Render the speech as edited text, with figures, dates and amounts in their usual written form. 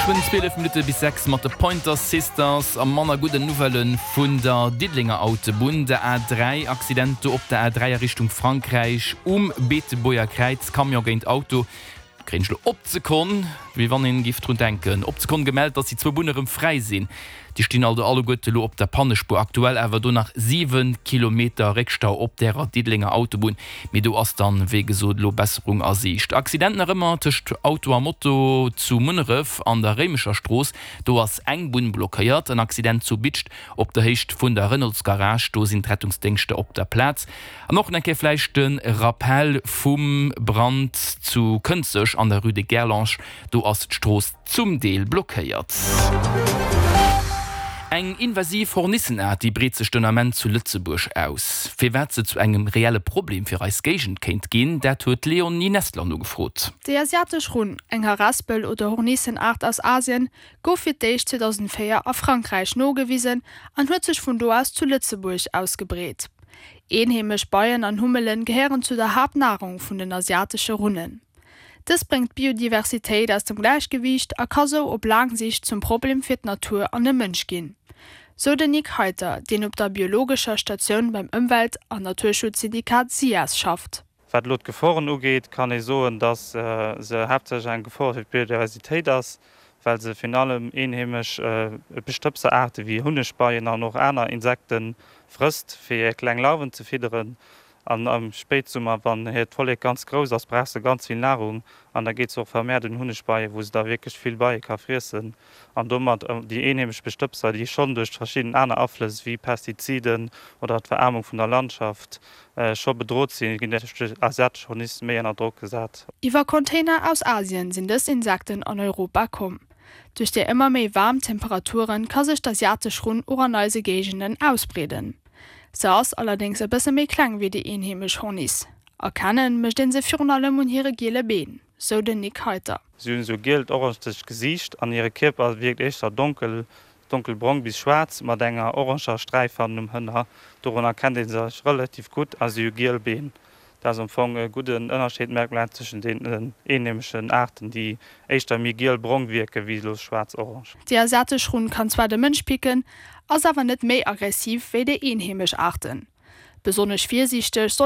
Geschwënn 12 Minutte bis 6 mat de Pointer Sisters a manner gudden Nouvellë vun der Diddelenger Autobunn, der A3. Accident do op der A3 a Richtung Frankräich um Beetebuerger Kräiz, Camion géint Auto. Kréien ech lo op d'Sekonn, wéi wann een giff drun denken, op d'Sekonn gemellt, dass déi zwou Bunne rëm fräi sinn. Déi stinn also alleguerte lo op der Pannespuer. Aktuell awer do nach 7 Kilometer Réckstau op därer Diddelenger Autobunn. Mee do ass dann, wéi gesot, elo Besserung a Siicht. Accident nach ëmmer tëscht Auto a Moto zu Munneref an der Réimecher Strooss. Do ass eng Bunn blockéiert. En Accident zu Bidscht op der Héicht vun der Renaultsgarage. Do sinn d'Rettungsdéngschter op der Plaz. An och nach eng Kéier vläicht de Rappel vum Brand zu Kënzeg an der Rue de Gerlange, do ass d'Strooss zum Deel blockéiert. Eng invasiv Hornissenaart, déi breet sech den Ament zu Lëtzebuerg aus. Firwat se zu engem reelle Problem fir eis Géigend kéint ginn, dat huet d'Léonie Nestler nogefrot. Déi asiatesch Runn, eng Harespel oder Hornissenaart aus Asien, gouf fir d'éischt 2004 a Frankräich nogewisen an huet sech vun do aus zu Lëtzebuerg ausgebreet. Eenheemesch Beien an Hummelen gehéieren zu der Haaptnahrung vun den asiatesche Runnen. Dës bréngt d'Biodiversitéit aus dem Gläichgewiicht a ka sou op laang Sicht zum Problem fir d'Natur an de Mënsch ginn, sou den Nick Heiter, deen op der biologescher Statioun beim Ëmwelt an Naturschutzsyndikat SIAS schafft. Wat elo d'Geforen ugeet, kann ee soen, datt se haaptsächlech eng Gefor fir d'Biodiversitéit ass, well se virun allem eenheemesch Bestëbseraarte wéi Hunnegbeien an och aner Insekte frësst, fir hir kleng Larven ze fidderen. An am Spéitsummer, wann hiert Vollek ganz grouss ass, brauch se ganz vill Nahrung an da geet se och vermehrt un Hunnegbeien, wou se da wierklech vill Beie ka friessen an domat déi eenheemesch Bestëbser, déi schonn duerch verschidden aner Aflëss wéi Pestiziden oder d'Veraarmung vun der Landschaft scho bedrot sinn, ginn duerch déi asiatesch Horniss méi ënner Drock gesat. Iwwer Container aus Asien sinn dës Insekten an Europa komm. Duerch déi ëmmer méi waarm Temperature ka sech d'asiatesch Runn och an eise Géigenden ausbreeden. Se ass allerdéngs e bësse méi kleng wéi déi eenheemesch Horniss. Erkenne mécht een se virun allem un hire giele Been, sou den Nick Heiter. Si hunn esou gielt orangezegt Gesiicht an hire Kierper wierkt éischter donkel, donkelbrong bis schwaarz mat enger oranger Sträif hannen um Hënner. Dorun erkennt ee se relativ gutt a si hu giel Been. Dat ass am Fong e gudden Ënnerscheedmerkmal tëschent den eenheemeschen Aarten, déi éischter méi giel-brong wierke wéi elo schwaarz-orange. Déi asiatesch Runn kann zwar de Mënsch picken, ass awer net méi aggressiv wéi déi eenheemesch Aarten. Besonnesch virsiichteg soll.